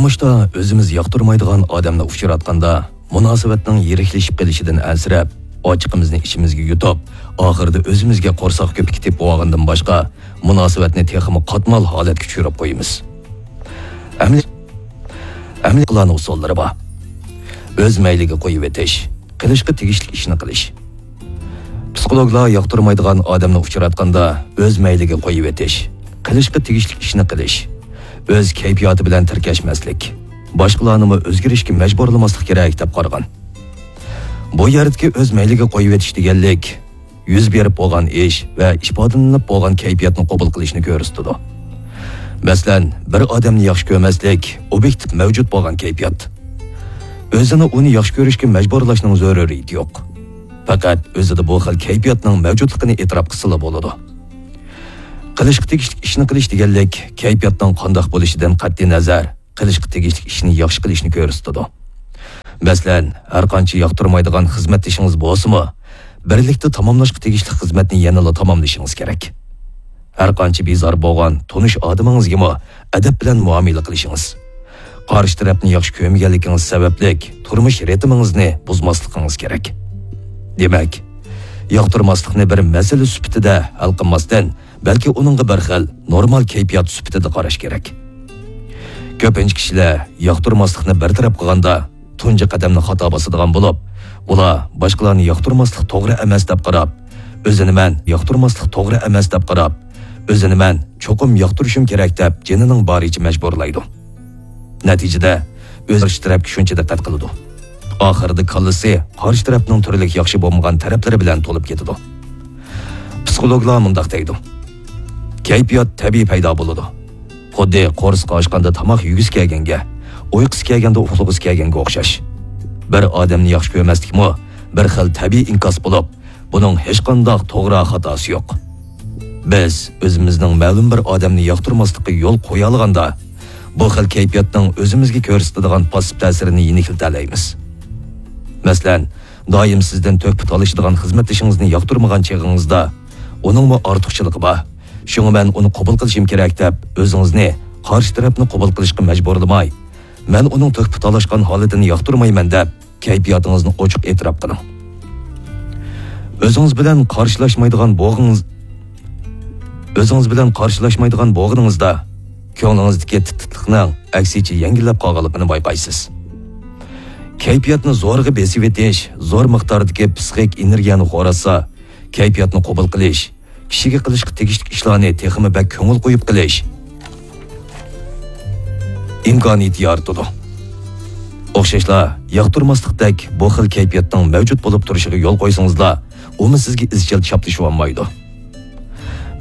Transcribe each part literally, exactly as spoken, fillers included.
تۇرمۇشتا ئۆزىمىز ياقتۇرمايدىغان ئادەمنى ئۇچراتقاندا، مۇناسىۋەتنىڭ يىرىكلىشىپ قېلىشىدىن ئەنسىرەپ، ئاچچىقىمىزنى ئىچىمىزگە يۇتۇپ، ئاخىرىدا ئۆزىمىزگە قورساق كۆپۈكى تېپىپ ئالغاندىن باشقا، مۇناسىۋەتنى تېخىمۇ قاتمال ھالەتكە چۈشۈرۈپ قويىمىز. ئەمەلىي، ئەمەلىي قىلغان ئۇسۇللىرى بار. ئۆز مەيلىگە قويۇۋېتىش، قىلىشقا تېگىشلىك ئىشنى قىلىش. پسىخولوگلار ياقتۇرمايدىغان ئادەمنى ئۇچراتقاندا ئۆز مەيلىگە قويۇۋېتىش، قىلىشقا تېگىشلىك ئىشنى قىلىش، ئۆز كەيپىياتى بىلەن تىركەشمەسلىك، باشقىلارنىمۇ ئۆزگىرىشكە مەجبۇرلىماسلىق كېرەك دەپ قارىغان. بۇ يەردىكى ئۆز مەيلىگە قويۇۋېتىش دېگەنلىك، يۈز بېرىپ بولغان ئىش ۋە ئىپادىلىنىپ بولغان كەيپىياتنى قوبۇل قىلىشنى كۆرسىتىدۇ. مەسىلەن، بىر ئادەمنى ياخشى كۆرمەسلىك ئوبيېكتىپ مەۋجۇت بولغان كەيپىيات. ئۆزىنى ئۇنى ياخشى كۆرۈشكە مەجبۇرلاشنىڭ زۆرۈرىيىتى يوق. پەقەت ئۆزىدە بۇ خىل كەيپىياتنىڭ مەۋجۇتلۇقىنى ئېتىراپ قىلسىلا بولىدۇ. قىلىشقا تېگىشلىك ئىشنى قىلىش دېگەنلىك، كەيپىياتنىڭ قانداق بولۇشىدىن قەتئىينەزەر، قىلىشقا تېگىشلىك ئىشنى ياخشى قىلىشنى كۆرسىتىدۇ. مەسىلەن، ھەرقانچە ياقتۇرمايدىغان خىزمەتدىشىڭىز بولسىمۇ، بىرلىكتە تاماملاشقا تېگىشلىك خىزمەتنى يەنىلا تاماملىشىڭىز كېرەك. ھەرقانچە بىزار بولغان تونۇش ئادىمىڭىزگىمۇ ئەدەپ بىلەن مۇئامىلە قىلىشىڭىز. قارشى تەرەپنى ياخشى كۆرمىگەنلىكىڭىز سەۋەبلىك تۇرمۇش رىتىمىڭىزنى بۇزماسلىقىڭىز كېرەك. دېمەك، ياقتۇرماسلىقنى بىر مەسىلە سۈپىتىدە ھەل قىلماستىن، بەلكى ئۇنىڭغا بىر خىل نورمال كەيپىيات سۈپىتىدە قاراش كېرەك. كۆپىنچە كىشىلەر ياقتۇرماسلىقنى بىر تەرەپ قىلغاندا، تۇنجى قەدەمنى خاتا باسىدىغان بولۇپ، ئۇلار باشقىلارنى ياقتۇرماسلىق توغرا ئەمەس دەپ قاراپ، ئۆزىنى مەن ياقتۇرماسلىق توغرا ئەمەس دەپ قاراپ، ئۆزىنى مەن چوقۇم ياقتۇرۇشۇم كېرەك دەپ جېنىنىڭ بارىچە مەجبۇرلايدۇ. نەتىجىدە، ئۆزى قارشى تەرەپكە شۇنچە دىققەت قىلىدۇ. ئاخىرىدا كاللىسى قارشى تەرەپنىڭ تۈرلۈك ياخشى بولمىغان تەرەپلىرى بىلەن تولۇپ كېتىدۇ. پسىخولوگلار مۇنداق دەيدۇ: كەيپىيات تەبىئىي پەيدا بولىدۇ. خۇددى قورسىقى ئاچقاندا تاماق يېگۈسى كەلگەنگە، ئۇيقۇسى كەلگەندە ئۇخلىغۇسى كەلگەنگە ئوخشاش. بىر ئادەمنى ياخشى كۆرمەسلىكمۇ بىر خىل تەبىئىي ئىنكاس بولۇپ، بۇنىڭ ھېچقانداق توغرا خاتاسى يوق. بىز ئۆزىمىزنىڭ مەلۇم بىر ئادەمنى ياقتۇرماسلىققا يول قويالىغاندا، بۇ خىل كەيپىياتنىڭ ئۆزىمىزگە كۆرسىتىدىغان پاسسىپ تەسىرىنى يېنىكلىتەلەيمىز. مەسىلەن، دائىم سىزدىن تۆھپە تالىشىدىغان خىزمەتدىشىڭىزنى ياقتۇرمىغان چېغىڭىزدا، ئۇنىڭمۇ ئارتۇقچىلىقى بار، شۇڭا مەن ئۇنى قوبۇل قىلىشىم كېرەك دەپ، ئۆزىڭىزنى قارشى تەرەپنى قوبۇل قىلىشقا مەجبۇرلىماي، مەن ئۇنىڭ تۆھپە تالاشقان ھالىتىنى ياقتۇرمايمەن دەپ، كەيپىياتىڭىزنى ئوچۇق ئېتىراپ قىلىڭ. ئۆزىڭىز بىلەن قارشىلاشمايدىغان بوغىڭىز، ئۆزىڭىز بىلەن قارشىلاشمايدىغان بوغىنىڭىزدا كۆڭلىڭىزدىكى تىتلىقنىڭ ئەكسىچە يەڭگىللەپ قالغانلىقىنى بايقايسىز. كەيپىياتنى زورىغا بېسىۋېتىش، زور مىقداردىكى پسىخىك ئېنېرگىيەنى خوراتسا، كەيپىياتنى قوبۇل قىلىش، كىشىگە قىلىشقا تېگىشلىك ئىشلارنى تېخىمۇ بەك كۆڭۈل قويۇپ قىلىش ئىمكانىيىتى يارىتىدۇ. ئوخشاشلا، ياقتۇرماسلىقتەك بۇ خىل كەيپىياتنىڭ مەۋجۇت بولۇپ تۇرۇشىغا يول قويسىڭىزلا، ئۇمۇ سىزگە ئىزچىل چاپلىشىۋالمايدۇ.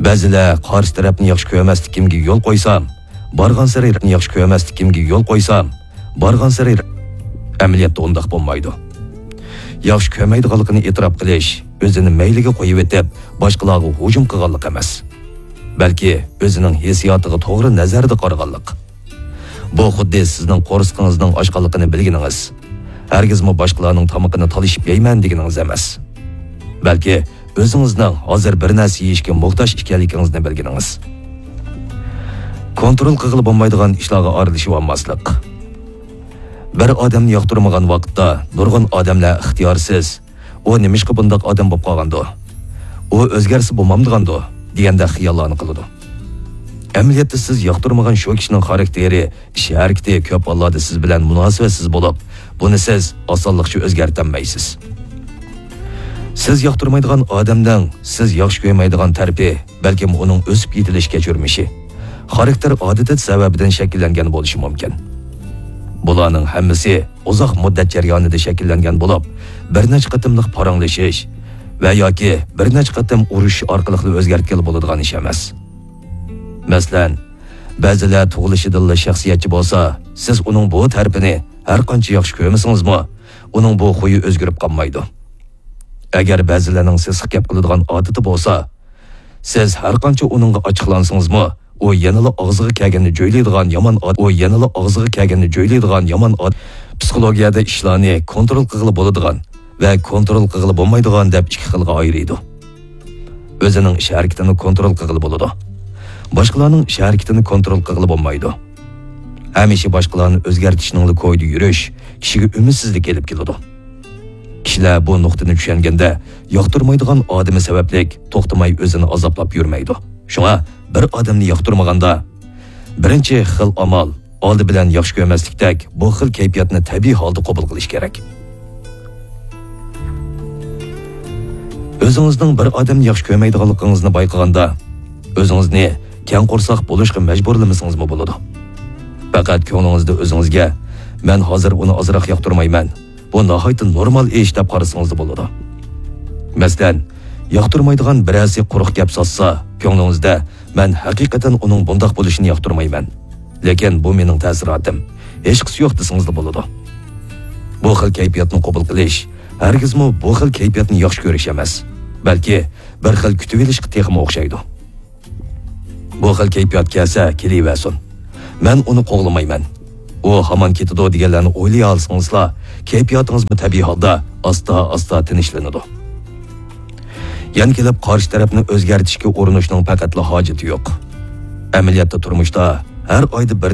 بەزىلەر قارشى تەرەپنى ياخشى كۆرمەسلىكىمگە يول قويسام، بارغانسېرى ياخشى كۆرمەسلىكىمگە يول قويسام، بارغانسېرى ئەمەلىيەتتە ئۇنداق بولمايدۇ. ياخشى كۆرمەيدىغانلىقىنى ئېتىراپ قىلىش، ئۆزىنى مەيلىگە قويۇۋېتىپ، باشقىلارغا ھۇجۇم قىلغانلىق ئەمەس. بەلكى ئۆزىنىڭ ھېسسىياتىغا توغرا نەزەردە قارىغانلىق. بۇ خۇددى سىزنىڭ قورسىقىڭىزنىڭ ئاچقانلىقىنى بىلگىنىڭىز، ھەرگىزمۇ باشقىلارنىڭ تامىقىنى تالىشىپ يەيمەن دېگىنىڭىز ئەمەس. بەلكى ئۆزىڭىزنىڭ ھازىر بىر نەرسە يېيىشكە موھتاج ئىكەنلىكىڭىزنى بىلگىنىڭىز. كونترول قىلغىلى بولمايدىغان ئىشلارغا ئارىلىشىۋالماسلىق. بىر ئادەمنى ياقتۇرمىغان ۋاقىتتا نۇرغۇن ئادەملەر ئىختىيارسىز، «ئۇ نېمىشقا بۇنداق ئادەم بولۇپ قالغاندۇ؟ ئۇ ئۆزگەرسە بولمامدىغاندۇ؟» دېگەندەك خىياللارنى قىلىدۇ. ئەمەلىيەتتە سىز ياقتۇرمىغان شۇ كىشىنىڭ خاراكتېرى، ئىش ھەرىكىتى كۆپ ھاللاردا سىز بىلەن مۇناسىۋەتسىز بولۇپ، بۇنى سىز ئاسانلىقچە ئۆزگەرتەلمەيسىز. سىز ياقتۇرمايدىغان ئادەمنىڭ سىز ياخشى كۆرمەيدىغان تەرىپى، بەلكىم ئۇنىڭ ئۆسۈپ يېتىلىش كەچۈرمىشى، خاراكتېر ئادىتى سەۋەبىدىن شەكىللەنگەن بولۇشى مۇمكىن. بۇلارنىڭ ھەممىسى ئۇزاق مۇددەت جەريانىدا شەكىللەنگەن بولۇپ، بىر نەچچە قېتىملىق پاراڭلىشىش ۋە ياكى بىر نەچچە قېتىم ئۇرۇشۇش ئارقىلىقلا ئۆزگەرتكىلى بولىدىغان ئىش ئەمەس. مەسىلەن، بەزىلەر تۇغۇلۇشىدىنلا شەخسىيەتچى بولسا، سىز ئۇنىڭ بۇ تەرىپىنى ھەر قانچە ياخشى كۆرمىسىڭىزمۇ، ئۇنىڭ بۇ خۇيى ئۆزگىرىپ قالمايدۇ. ئەگەر بەزىلەرنىڭ سېسىق گەپ قىلىدىغان ئادىتى بولسا، سىز ھەر قانچە ئۇنىڭغا ئاچچىقلانسىڭىزمۇ، ئۇ يەنىلا ئاغزىغا كەلگەننى جۆيلەيدىغان يامان ئاد-، ئۇ يەنىلا ئاغزىغا كەلگەننى جۆيلەيدىغان يامان ئاد-، پسىخولوگىيەدە ئىشلارنى كونترول قىلغىلى بولىدىغان ۋە كونترول قىلغىلى بولمايدىغان دەپ ئىككى خىلغا ئايرىيدۇ. ئۆزىنىڭ ئىش ھەرىكىتىنى كونترول قىلغىلى بولىدۇ. باشقىلارنىڭ ئىش ھەرىكىتىنى كونترول قىلغىلى بولمايدۇ. ھەمىشە باشقىلارنى ئۆزگەرتىشنىڭلا كويىدا يۈرۈش كىشىگە ئۈمىدسىزلىك ئېلىپ كېلىدۇ. كىشىلەر بۇ نۇقتىنى چۈشەنگەندە، ياقتۇرمايدىغان ئادىمى سەۋەبلىك توختىماي ئۆزىنى ئازابلاپ يۈرمەيدۇ. شۇڭا بىر ئادەمنى ياقتۇرمىغاندا، بىرىنچى خىل ئامال، ئالدى بىلەن ياخشى كۆرمەسلىكتەك، بۇ خىل كەيپىياتنى تەبىئىي ھالدا قوبۇل قىلىش كېرەك. ئۆزىڭىزنىڭ بىر ئادەمنى ياخشى كۆرمەيدىغانلىقىڭىزنى بايقىغاندا، ئۆزىڭىزنى كەڭ قورساق بولۇشقا مەجبۇرلىمىسىڭىزمۇ بولىدۇ. پەقەت كۆڭلىڭىزدە ئۆزىڭىزگە، «مەن ھازىر ئۇنى ئازراق ياقتۇرمايمەن، بۇ ناھايىتى نورمال ئىش» دەپ قارىسىڭىزلا بولىدۇ. مەسىلەن، ياقتۇرمايدىغان بىرەرسى قۇرۇق گەپ سازسا، كۆڭلىڭىزدە، «مەن ھەقىقەتەن ئۇنىڭ بۇنداق بولۇشىنى ياقتۇرمايمەن، لېكىن بۇ مېنىڭ تەسىراتىم، ھېچقىسى يوق» دېسىڭىزلا بولىدۇ. بۇ خىل كەيپىياتنى قوبۇل قىلىش ھەرگىزمۇ بۇ خىل كەيپىياتنى ياخشى كۆرۈش ئەمەس، بەلكى بىر خىل كۈتۈۋېلىشقا تېخىمۇ ئوخشايدۇ. بۇ خىل كەيپىيات كەلسە كېلىۋەرسۇن. مەن ئۇنى قوغلىمايمەن. ئۇ ھامان كېتىدۇ دېگەنلەرنى ئويلىيالىسىڭىزلا، كەيپىياتىڭىزمۇ تەبىئىي ھالدا ئاستا-ئاستا تىنچلىنىدۇ. يەنە كېلىپ قارشى تەرەپنى ئۆزگەرتىشكە ئۇرۇنۇشنىڭ پەقەتلا ھاجىتى يوق. ئەمەلىيەتتە تۇرمۇشتا ھەر ئايدا بىر